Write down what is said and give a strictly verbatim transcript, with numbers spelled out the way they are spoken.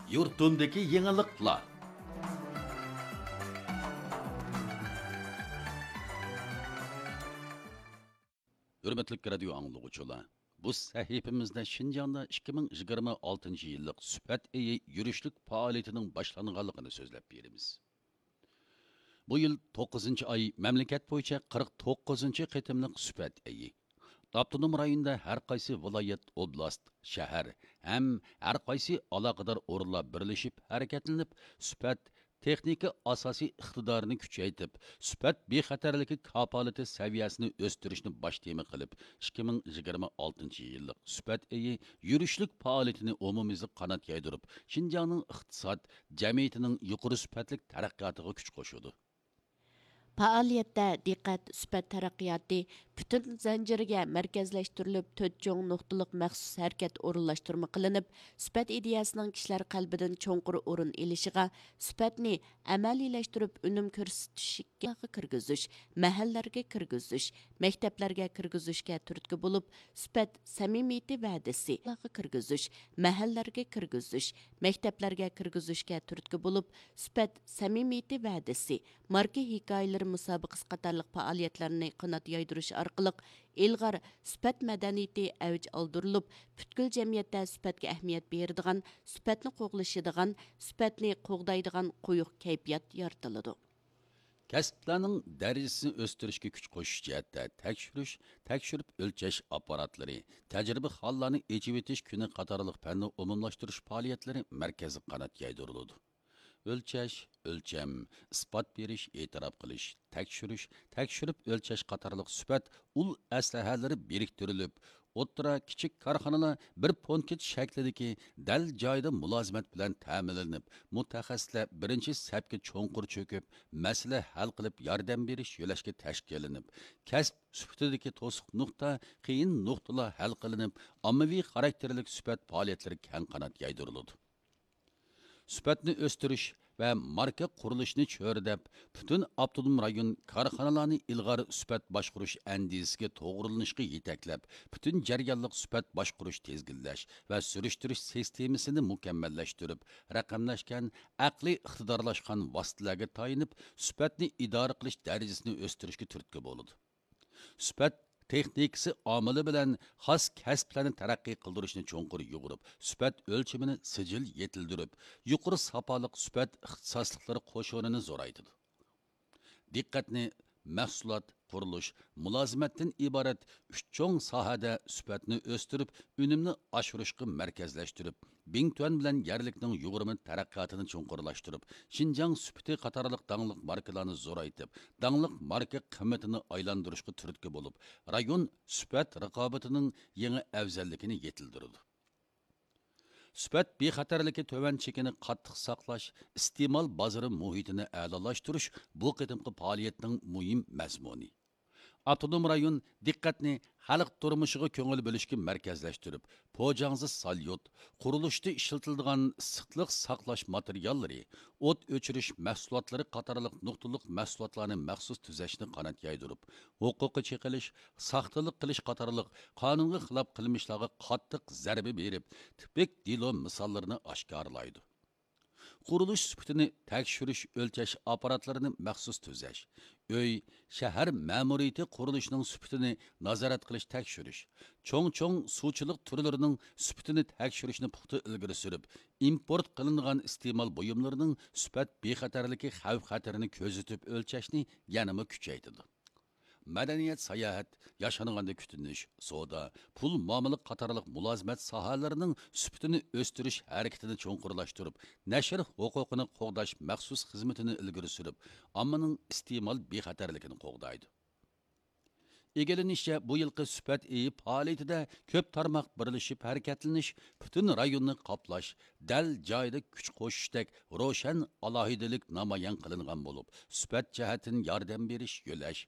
يۇرتۇمدىكى يېڭىلىقلار. ھۆرمەتلىك رادىيو ئاڭلىغۇچىلار، بۇ سەھىپىمىزدە شىنجاڭدا ئىككى مىڭ يىگىرمە ئالتىنچى يىللىق سۈپەت ئېيى يۈرۈشلۈك پائالىيىتىنىڭ باشلانغانلىقىنى سۆزلەپ بېرىمىز. بۇ يىل توققۇزىنچى ئاي مەملىكەت بويىچە قىرىق توققۇزىنچى قېتىملىق سۈپەت ئېيى. ئاپتونوم رايوندا ھەر قايسى ۋىلايەت، ئوبلاست، شەھەر ھەم ھەر قايسى ئالاقىدار ئورۇنلار بىرلىشىپ ھەرىكەتلىنىپ، سۈپەت تېخنىكا ئاساسىي ئىقتىدارىنى كۈچەيتىپ، سۈپەت بىخەتەرلىكى كاپالىتى سەۋىيەسىنى ئۆستۈرۈشنى باش تېما قىلىپ، ئىككى مىڭ يىگىرمە ئالتىنچى يىللىق سۈپەت ئېيى يۈرۈشلۈك پائالىيىتىنى ئومۇميۈزلۈك قانات يايدۇرۇپ، شىنجاڭنىڭ ئىقتىساد، جەمئىيىتىنىڭ يۇقىرى سۈپەتلىك تەرەققىياتىغا كۈچ قوشىدۇ. پائالىيەتتە دىققەت سۈپەت تەرەققىياتى پۈتۈن زەنجىرىگە مەركەزلەشتۈرۈلۈپ، تۆت چوڭ نۇقتىلىق مەخسۇس ھەرىكەت ئورۇنلاشتۇرما قىلىنىپ، سۈپەت ئىدىيەسىنىڭ كىشىلەر قەلبىدىن چوڭقۇر ئورۇن ئېلىشىغا، سۈپەتنى ئەمەلىيلەشتۈرۈپ، ئۈنۈم كۆرسىتىشكە كىرگۈزۈش، مەھەللىلەرگە كىرگۈزۈش، مەكتەپلەرگە كىرگۈزۈشكە تۈرتكە بولۇپ، سۈپەت سەمىمىيىتى ۋەدىسى كىرگۈزۈش، مەھەللىلەرگە كىرگۈزۈش، مەكتەپلەرگە كىرگۈزۈشكە تۈرتكە بولۇپ، سۈپەت سەمىمىيىتى ۋەدىسى، ماركا ھېكايىلىرى مۇسابىقىسى قاتارلىق پائالىيەتلەرنى قانات يايدۇرۇش ئارقىلىق، ئىلغار سۈپەت مەدەنىيىتى ئەۋج ئالدۇرۇلۇپ، پۈتكۈل جەمئىيەتتە سۈپەتكە ئەھمىيەت بېرىدىغان، سۈپەتنى قوغلىشىدىغان، سۈپەتنى قوغدايدىغان قويۇق كەيپىيات يارىتىلىدۇ. كەسىپلەرنىڭ دەرىجىسىنى ئۆستۈرۈشكە كۈچ قوشۇش جەھەتتە تەكشۈرۈش، تەكشۈرۈپ ئۆلچەش ئاپپاراتلىرى، تەجرىبىخانىلارنى ئېچىۋېتىش كۈنى قاتارلىق پەننى ئومۇملاشتۇرۇش پائالىيەتلىرى مەركەزلىك قانات يايدۇرۇلىدۇ. ئۆلچەش، ئۆلچەم، ئىسپات بېرىش، ئېتىراپ قىلىش، تەكشۈرۈش، تەكشۈرۈپ ئۆلچەش قاتارلىق سۈپەت ئۇل ئەسلىھەلىرى بىرىكتۈرۈلۈپ، ئوتتۇرا، كىچىك كارخانىلار بىر پونكىت شەكلىدىكى دەل جايىدا مۇلازىمەت بىلەن تەمىنلىنىپ، مۇتەخەسسىسلەر بىرىنچى سەپكە چوڭقۇر چۆكۈپ، مەسىلە ھەل قىلىپ ياردەم بېرىش يۆلەشكە تەشكىللىنىپ، كەسىپ سۈپىتىدىكى توسۇق نۇقتا، قىيىن نۇقتىلار ھەل قىلىنىپ، ئاممىۋى خاراكتېرلىك سۈپەت پائالىيەتلىرى كەڭ قانات يايدۇرۇلىدۇ. سۈپەتنى ئۆستۈرۈش ۋە ماركا قۇرۇلۇشىنى چۆرىدەپ، پۈتۈن ئاپتونوم رايون كارخانىلارنى ئىلغار سۈپەت باشقۇرۇش ئەندىزىسىگە توغرىلىنىشقا يېتەكلەپ، پۈتۈن جەريانلىق سۈپەت باشقۇرۇش، تىزگىنلەش ۋە سۈرۈشتۈرۈش سىستېمىسىنى مۇكەممەللەشتۈرۈپ، رەقەملەشكەن، ئەقلىي ئىقتىدارلاشقان ۋاسىتىلەرگە تايىنىپ، سۈپەتنى ئىدارە قىلىش دەرىجىسىنى ئۆستۈرۈشكە تۈرتكە بولىدۇ. سۈپەت تېخنىكىسى ئامىلى بىلەن خاس كەسىپلەرنى تەرەققىي قىلدۇرۇشنى چوڭقۇر يۇغۇرۇپ، سۈپەت ئۆلچىمىنى سىجىل يېتىلدۈرۈپ، يۇقىرى ساپالىق سۈپەت ئىختىساسلىقلىرى قوشۇنىنى زورايتىدۇ. دىققەتنى مەھسۇلات، قۇرۇلۇش، مۇلازىمەتتىن ئىبارەت ئۈچ چوڭ ساھەدە سۈپەتنى ئۆستۈرۈپ، ئۈنۈمنى ئاشۇرۇشقا مەركەزلەشتۈرۈپ، بىڭتۈەن بىلەن يەرلىكنىڭ يۇغۇرما تەرەققىياتىنى چوڭقۇرلاشتۇرۇپ، شىنجاڭ سۈپىتى قاتارلىق داڭلىق ماركىلارنى زورايتىپ، داڭلىق ماركا قىممىتىنى ئايلاندۇرۇشقا تۈرتكە بولۇپ، رايون سۈپەت رىقابىتىنىڭ يېڭى ئەۋزەللىكىنى يېتىلدۈرىدۇ. سۈپەت بىخەتەرلىكى تۆۋەن چېكىنى قاتتىق ساقلاش، ئىستېمال بازىرى مۇھىتىنى ئەلالاشتۇرۇش بۇ قېتىمقى پائالىيەتنىڭ مۇھىم مەزمۇنى. ئاپتونوم رايون دىققەتنى خەلق تۇرمۇشىغا كۆڭۈل بۆلۈشكە مەركەزلەشتۈرۈپ، پوجاڭزى ساليۇت، قۇرۇلۇشتا ئىشلىتىلىدىغان ئىسسىقلىق ساقلاش ماتېرىياللىرى، ئوت ئۆچۈرۈش مەھسۇلاتلىرى قاتارلىق نۇقتىلىق مەھسۇلاتلارنى مەخسۇس تۈزەشنى قانات يايدۇرۇپ، ھوقۇققا چېقىلىش، ساختىلىق قىلىش قاتارلىق قانۇنغا خىلاپ قىلمىشلارغا قاتتىق زەربە بېرىپ، تىپىك دېلو مىساللىرىنى ئاشكارىلايدۇ. قۇرۇلۇش سۈپىتىنى تەكشۈرۈش، ئۆلچەش ئاپپاراتلىرىنى مەخسۇس تۈزەش، ئۆي، شەھەر مەمۇرىيىتى قۇرۇلۇشىنىڭ سۈپىتىنى نازارەت قىلىش، تەكشۈرۈش، چوڭ-چوڭ سۇچىلىق تۈرلىرىنىڭ سۈپىتىنى تەكشۈرۈشنى پۇختا ئىلگىرى سۈرۈپ، ئىمپورت قىلىنىدىغان ئىستېمال بۇيۇملىرىنىڭ سۈپەت بىخەتەرلىكى خەۋپ-خەتىرىنى كۆزىتىپ ئۆلچەشنى يەنىمۇ كۈچەيتىدۇ. مەدەنىيەت، ساياھەت، ياشانغاندا كۈتۈنۈش، سودا، پۇل مۇئامىلە قاتارلىق مۇلازىمەت ساھەلىرىنىڭ سۈپىتىنى ئۆستۈرۈش ھەرىكىتىنى چوڭقۇرلاشتۇرۇپ، نەشر ھوقۇقىنى قوغداش مەخسۇس خىزمىتىنى ئىلگىرى سۈرۈپ، ئاممىنىڭ ئىستېمال بىخەتەرلىكىنى قوغدايدۇ. ئىگىلىنىشىچە، بۇ يىلقى سۈپەت ئېيى پائالىيىتىدە كۆپ تارماق بىرلىشىپ ھەرىكەتلىنىش، پۈتۈن رايوننى قاپلاش، دەل جايىدا كۈچ قوشۇشتەك روشەن ئالاھىدىلىك نامايان قىلىنغان بولۇپ، سۈپەت جەھەتتىن ياردەم بېرىش، يۆلەش،